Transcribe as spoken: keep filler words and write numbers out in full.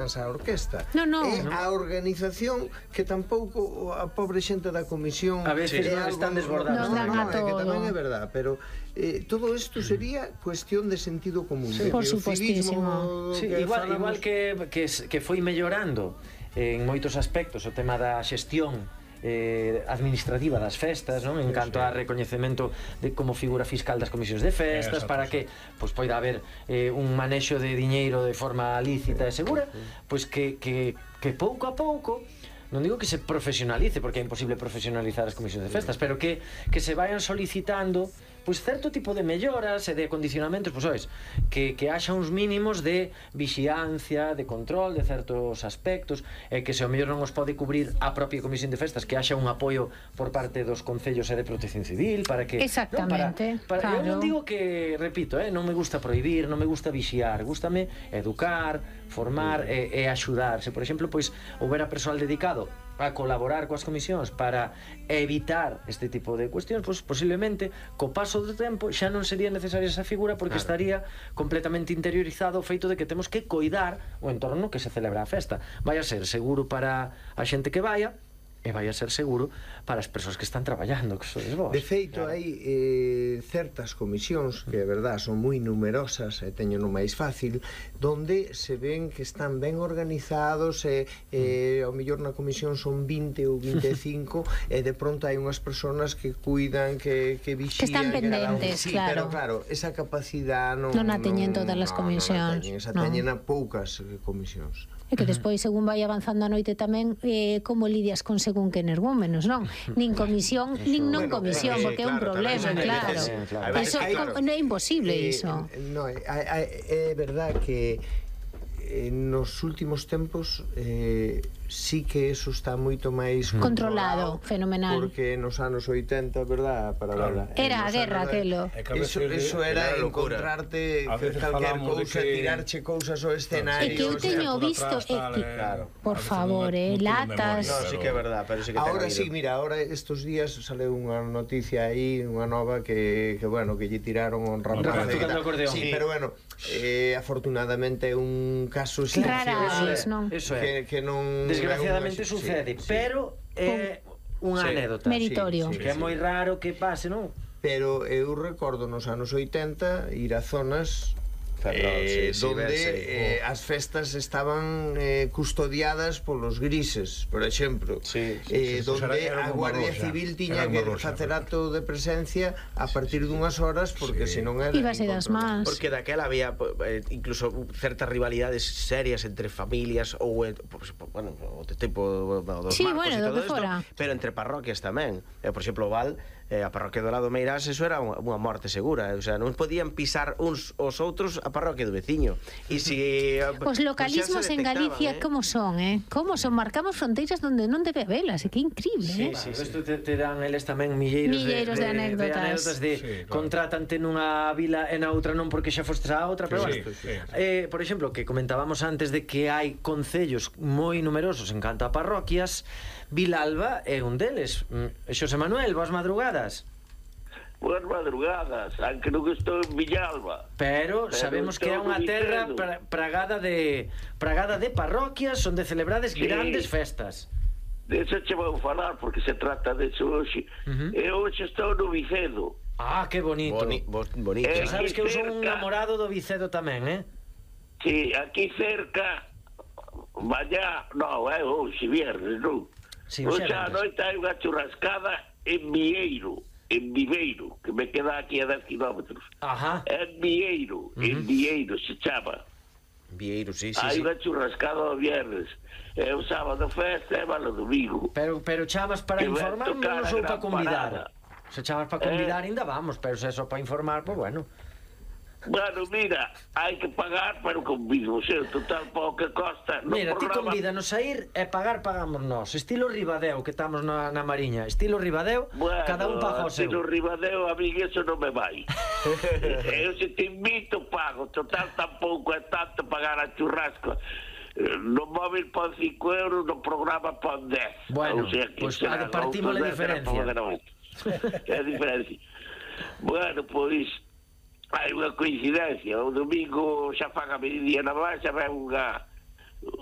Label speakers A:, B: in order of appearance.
A: a orquesta.
B: No, no.
A: É
B: no.
A: a organización que tampouco a pobre xente da comisión
C: a veces
A: é
C: non
A: algo,
C: están desbordados.
B: No,
A: no,
B: no,
A: no, é que
B: todo.
A: tamén é verdad, pero eh, todo isto sería cuestión de sentido común.
B: Sí,
A: de
B: por supuestísimo.
C: Sí,
A: que
C: igual,
A: falamos...
C: igual que, que, que foi mellorando en moitos aspectos o tema da xestión eh, administrativa das festas, non? En canto a recoñecemento de como figura fiscal das comisións de festas, para que pois poida haber eh, un manexo de diñeiro de forma lícita e segura, pois que, que, que pouco a pouco, non digo que se profesionalice, porque é imposible profesionalizar as comisións de festas, pero que, que se vayan solicitando pois certo tipo de melloras e de condicionamentos, pois ois, que, que haxa uns mínimos de vixiancia, de control de certos aspectos, e que se o mellor non os pode cubrir a propia comisión de festas, que haxa un apoio por parte dos concellos e de protección civil, para que...
B: Exactamente,
C: non, para, para,
B: claro.
C: Eu non digo que, repito, eh, non me gusta prohibir, non me gusta vixiar, gústame educar, formar e, e axudar. Se, por exemplo, pois, houbera persoal dedicado a colaborar coas comisións para evitar este tipo de cuestións, pois posiblemente co paso do tempo xa non sería necesaria esa figura, porque claro, estaría completamente interiorizado o feito de que temos que coidar o entorno que se celebra a festa. Vai a ser seguro para a xente que vaya e vai a ser seguro para as persoas que están traballando, que sois vos.
A: De feito, claro, hai eh, certas comisións que, é verdad, son moi numerosas e teño no máis fácil, donde se ven que están ben organizados e, eh, ao mellor na comisión son vinte ou vinte e cinco e de pronto hai unhas persoas que cuidan, que, que vixían,
B: que están pendentes,
A: sí,
B: claro.
A: Pero claro, esa capacidade non,
B: non a teñen todas as
A: no,
B: comisións,
A: non a teñen, esa
B: no.
A: teñen a poucas eh, comisións.
B: E que despois, según vai avanzando a noite tamén, eh, como lidias con según que energúmenos, non? Nin comisión, nin non
A: Bueno,
B: comisión,
A: eh,
B: porque é un
A: claro,
B: problema,
A: tamén,
B: claro.
A: eh, claro.
B: Eso
A: Hay, claro.
B: non é imposible
A: eh,
B: iso.
A: No, é, é verdad que eh, nos últimos tempos eh, sí que eso está moito máis
B: controlado,
A: controlado,
B: fenomenal.
A: porque nos anos oitenta, verdad, para
B: claro, verdad, era a guerra aquelo.
A: Eso, eso era encontrarte calquer cousa, que... tirarche cousas ao escenario.
B: E que eu teño visto, e que, claro, por favor, eh, latas.
D: No, sí que é verdad, pero sí que
A: ahora sí, mira, ahora estos días sale unha noticia aí, unha nova que, que bueno, que lle tiraron un rapaz. Sí, pero bueno, eh, afortunadamente é un caso
B: raras, non?
C: Eso é.
A: Que, que non
C: desgraciadamente sucede, sí, pero é unha
A: sí,
C: anécdota
B: meritorio,
C: sí, sí, que é moi raro que pase, non?
A: Pero eu recordo nos anos oitenta ir a zonas
D: Perdón,
A: eh,
D: sí, sí,
A: donde
D: verse,
A: eh, as festas estaban eh, custodiadas polos grises, por exemplo,
D: sí,
A: eh,
D: sí, sí,
A: donde
E: era
A: a Guardia
E: rosa,
A: Civil tiña que
E: rosa,
A: facer acto de presencia a partir dunhas horas, porque sí, senón era
B: ibase das más.
D: Porque daquela había eh, incluso certas rivalidades serias entre familias ou eh, pues, bueno, o tipo dos
B: sí,
D: marcos
B: bueno,
D: e todo
B: do que
D: isto,
B: fora.
D: pero entre parroquias tamén. Eh, por exemplo, o Val, eh, a parroquia do lado Meirás, eso era unha, unha morte segura, eh, o sea, non podían pisar uns os outros a parroquia do veciño. E si
B: os localismos en Galicia, eh? como son, eh? Como son? Marcamos fronteiras donde non debe habelas, e que increíble,
C: sí,
B: eh?
C: Sí, sí, isto te, te dan eles tamén milleiros,
B: milleiros de, de, de anécdotas,
C: de, anécdotas de
E: sí, claro,
C: contrátante nunha vila e na outra non porque xa fostes a outra, pero
E: sí,
C: bueno,
E: sí, sí.
C: Eh, por exemplo, que comentábamos antes de que hai concellos moi numerosos en canto a parroquias, Vilalba é un deles. Xosé Manuel, boas madrugadas.
F: Boas madrugadas, aunque non estou en Villalba.
C: Pero, pero sabemos que é unha terra pra, pragada de pragada de parroquias onde celebrades sí, grandes festas.
F: De eso che vou falar, porque se trata de eso hoxe. Uh -huh. E hoxe estou no Vicedo.
C: Ah, que bonito.
D: Boni, bonito.
C: Eh, sabes que eu son un namorado do Vicedo tamén, eh?
F: Sí, aquí cerca, mañá, non, é hoxe, viernes, non?
C: Sí,
F: hoxe a noite hai unha churrascada en Vieiro. En Viveiro, que me queda aquí a dez kilómetros.
C: Ajá.
F: En Vieiro, uh -huh. en Vieiro se chama.
D: Vieiro, sí, sí.
F: Hai
D: sí.
F: unha churrascada o viernes. É o sábado festa e va o domingo.
C: Pero pero chamas para que informar, non sou para convidar. Parada. Se chamas para convidar, eh... ainda vamos, pero se é só para informar, pois pues bueno.
F: Bueno, mira, hai que pagar, pero convido, o sea, total pouco que costa.
C: No mira, programa... ti convídanos a ir e pagar pagamos nós. Estilo Ribadeo, que estamos na, na Mariña. Estilo Ribadeo, bueno, cada un paga o seu.
F: Estilo Ribadeo, a mí eso non me vai. Eu se te invito, pago. Total, tampouco é tanto pagar a churrasco. No móvil pon cinco euros, no programa pon dez.
C: Bueno,
F: o sea,
C: pois pues, partimos a diferencia.
F: É a diferencia. Bueno, pois... hai unha coincidencia, o domingo xa fan a medida na baixa, vai unha o,